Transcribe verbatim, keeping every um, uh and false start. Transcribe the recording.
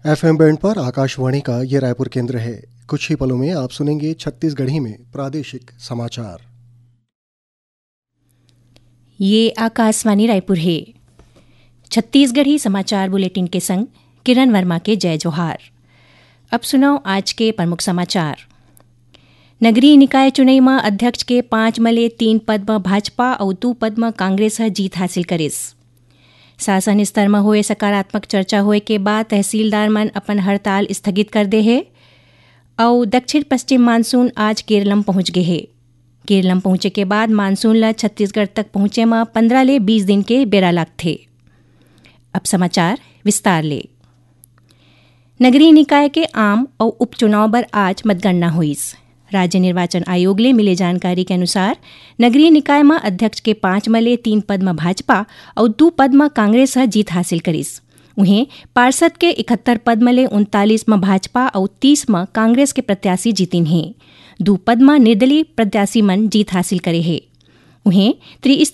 FM band पर आकाशवाणी का ये रायपुर केंद्र है। कुछ ही पलों में आप सुनेंगे छत्तीसगढ़ी में प्रादेशिक समाचार। ये आकाशवाणी रायपुर हे। छत्तीसगढ़ी समाचार बुलेटिन के संग किरण वर्मा के जय जोहार। अब सुनव आज के प्रमुख समाचार। नगरीय निकाय चुनई म अध्यक्ष के पांच म ले तीन पद म भाजपा अउ दू पद म कांग्रेस ह जीत हासिल करिस। शासन स्तर म होए सकारात्मक चर्चा होए के बाद तहसीलदार मन अपन हड़ताल स्थगित कर दे हे। अउ दक्षिण पश्चिम मानसून आज केरलम पहुंच गे हे। केरलम पहुंचे के बाद मानसून ल छत्तीसगढ़ तक पहुंचे म पंद्रह ले बीस दिन के बेरा लागथे। अब समाचार विस्तार ले। नगरीय निकाय के आम अउ उपचुनाव बर आज मतगणना होइस। राज्य निर्वाचन आयोग ले मिले जानकारी के अनुसार, नगरीय निकाय म अध्यक्ष के पांच म ले तीन पद म भाजपा अउ दू पद म कांग्रेस ह जीत हासिल करिस। उहें, पार्षद के इकहत्तर पद म ले उनतालीस म भाजपा अउ तीस म कांग्रेस के प्रत्याशी जीतिन हे। दू पद म निर्दलीय प्रत्याशी मन जीत हासिल करे हे। उहें, त्रिस्तरीय